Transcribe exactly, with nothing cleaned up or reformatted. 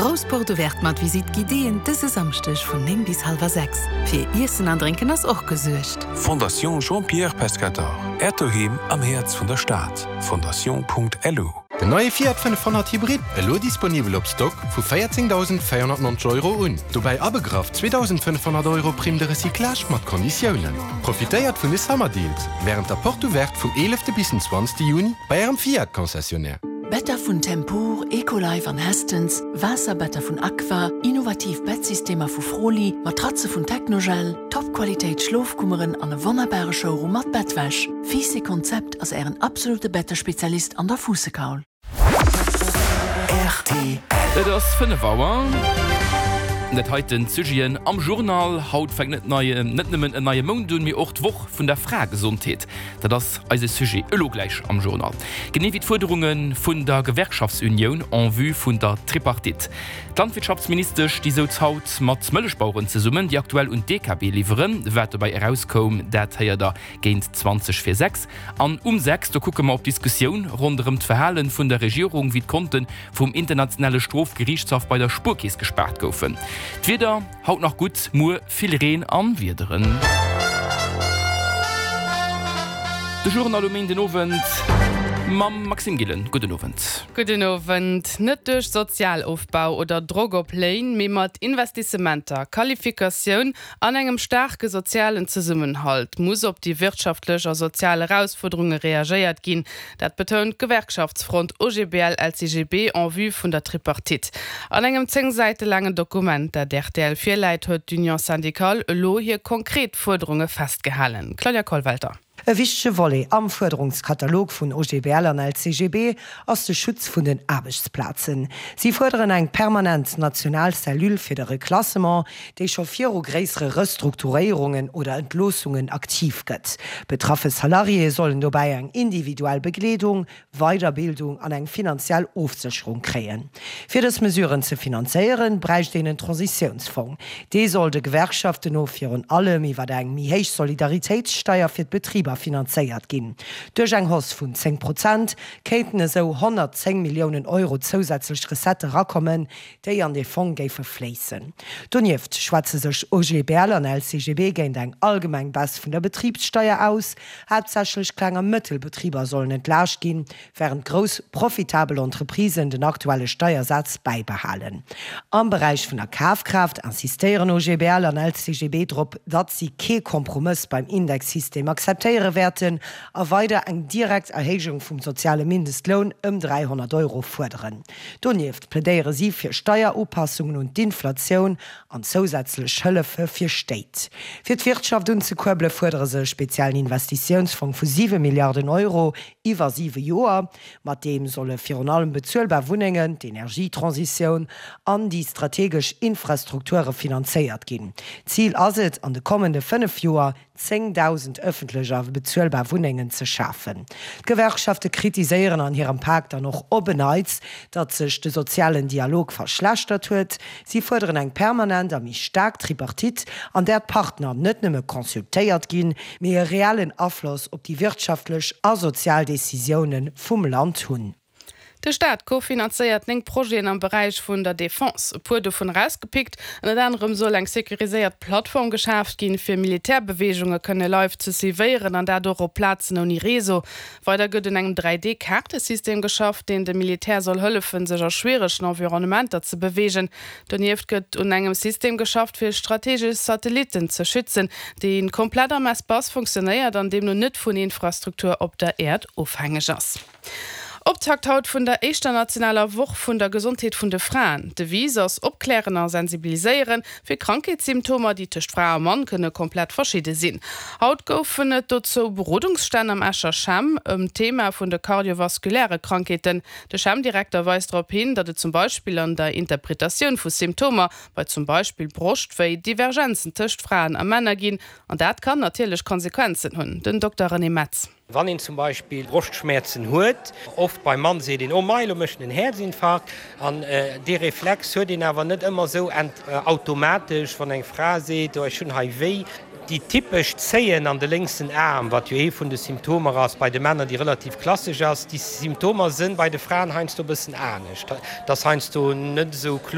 Grouss Porte ouverte mat Visite guidéeën dëse Samschdeg vun néng bis hallwer sechs. Fir Iessen an Drénken ass och gesuergt. Fondation Jean-Pierre Pescatore. Äert Doheem am Häerz vun der Stad. Fondation.lu. Den neie Fiat fënnefhonnert Hybrid, elo disponibel op Stock vu véierzéngdausendvéierhonnertneunzeg Euro un. Dobäi abegraff zweedausendfënnefhonnert Euro Prime de recyclage mat Konditiounen. Profitéiert vun de Summer Deals wärend der Porte ouverte vum eelefte bis den zwanzegste Juni bei ärem Fiat Concessionnaire. Better vun Tempur, Ecolife an Hästens, Waasserbetter vun Aqua, innovativ Bettsystemer vu Froli, Matratze vun Technogel, Top-Qualitéit Schlofkummeren an e wonnerbare Showroom mat Bettwäsch. Fiiss Konzept ass ären absolute Bettespezialist an der Fuussekaul. R T L. Et ass fënnef Auer. Dat heiten d'Sujeten am Journal, Haut fänkt net neie, net nëmmen en neie Mount un, mee och d'Woch vun der Fraegesondheet. Dat ass eise Sujet elo gläich am Journal. Genee wéi d'Fuerderunge vun der Gewerkschaftsunioun en vue vun der Tripartite. D'Landwirtschaftsministesch, déi souz haut mat Mëllechbaueren zesummen, déi aktuell un d'D K B liwweren. Wat dobäi erauskoum, dat héiert der géint zwanzeg vir sechs. An um sechs, do kucke mer op d'Diskussioun ronderëm d'Verhale vun der Regierung, wéi d'Konte vum internationale Strofgeriichtshaff bei der Spuerkeess gespaart goufen. D'Wieder, haut nach gutt, muer vill Reen a Wiederen. De Journal um den Owend mam Maxime Gillen. Gudden Owend. Gudden Owend. Net duerch Sozialofbau oder Drock op Léin, mee mat Investissementer, Qualifikatioun an engem staarke sozialen Zesummenhalt muss op déi wirtschaftlech a sozial Erausfuerderunge reagéiert ginn. Dat betount d'Gewerkschaftsfront O G B L L C G B en vue vun der Tripartite. An engem zéng Säite laangen Dokument, dat R T L virläit, huet d'Union syndicale elo hir konkret Fuerderunge festgehalen. Claudia Kollwelter. E wichtege Volet am Fuerderungskatalog vun O G B L an L C G B ass de Schutz vun den Aarbechtsplazen. Si fuerderen eng permanent national Cellule fir de Reklassement, déi scho viru gréissere Restrukturéierungen oder Entloossungen aktiv gëtt. Betraffe Salariéë sollen dobäi eng individuell Begleedung, Weiderbildung an eng finanziell Ofsécherung kréien. Fir dës Mesuren ze finanzéieren, bräicht een en Transitiounsfong. Dee soll de Gewerkschaften no virun allem iwwer eng méi héich Solidaritéitssteier fir d'Betriber finanzéiert ginn. Duerch eng Hausse vun zéng Prozent kéinten esou honnertzéng Milliounen Euro zousätzlech Recettë erakommen, déi an de Fong géife fléissen. Donieft schwätze sech O G B L an L C G B géint eng allgemeng Baisse vun der Betribssteier aus. Haaptsächlech Kleng a Mëttelbetriber sollen entlaascht ginn, wärend grouss profitabel Entreprisen den aktuelle Steiersaz bäibehalen. Am Beräich vun der Kafkraaft insistéieren O G B L an L C G B drop, datt si kee Kompromëss beim Indexsystem akzeptéiere wäerten a weider eng direkt Erhéijung vum soziale Mindestloun ëm dräihonnert Euro fuerderen. Donieft plädéiere si fir Steierupassungen un d'Inflatioun an zousätzlech Hëllefe fir Stéit. Fir d'Wirtschaft unzekuerbele fuerdere se e speziellen Investitiounsfong vu siwe Milliarden Euro iwwer siwe Joer. Mat deem solle virun allem bezuelbar Wunnengen, d'Energietransitioun an déi strategesch Infrastrukture finanzéiert ginn. Zil ass et, an de kommende fënnef Joer zéngdausend ëffentlech a bezuelbar Wunnengen ze schafen. D'Gewerkschafte kritiséieren an hirem Pak dann och op en Neits, datt sech de sozialen Dialog verschlechtert huet. Si fuerderen eng permanent a méi staark Tripartite, an där d'Partner net nëmme consultéiert ginn, mee e reellen Afloss op déi wirtschaftlech a sozial Decisioune vum Land hunn. De Staat kofinanzéiert néng Projeten am Beräich vun der Defense. E puer dovun erausgepickt: Ënnert anerem soll eng securiséiert Plattform geschaaft ginn, fir Militärbeweegunge kënne live ze suivéieren, an dat och op Plazen ouni Réseau. Weider gëtt un engem dräi D-Kaartesystem geschafft, deen dem Militär soll hëllefen, sech a schwieregen Environnementer ze beweegen. Donieft gëtt un engem System geschafft, fir strategesch Satellitten ze schützen, dee komplett am Espace funktionéiert an deemno net vun Infrastruktur op der Äerd ofhängeg ass. Optakt haut vun der éischter nationaler Woch vun der Gesondheet vun de Fraen. D'Devise ass opklären a sensibiliséieren fir Krankheetssymptomer, déi tëscht Fra a Mann kënne komplett verschidde sinn. Haut goufen et dozou Berodungsstänn am Escher CHEM ëm d'Thema vun de kardiovaskuläre Krankheeten. De CHEM-Direkter weist drop hin, datt et zum Beispill an der Interpretatioun vu Symptomer bei zum Beispill Broschtwéi Divergenzen tëscht Fraen a Männer ginn, an dat kann natierlech Konsequenzen hunn. Den Dokter René Metz. Wann een zum Beispill Broschtschmäerzen huet, oft beim Mann seet een, oh mei, lo mécht en en Häerzinfarkt, an dee Reflex huet een awer net ëmmer esou automatesch, wann eng Fra seet, oh ech hunn hei wéi. Déi typesch Zéien an de lénksen Aarm, wat jo ee vun de Symptomer ass bei de Männer, déi relativ klassesch ass, déi Symptomer sinn bei de Fraen heiansdo e bëssen anescht. Dat ass heiansdo net esou kloer.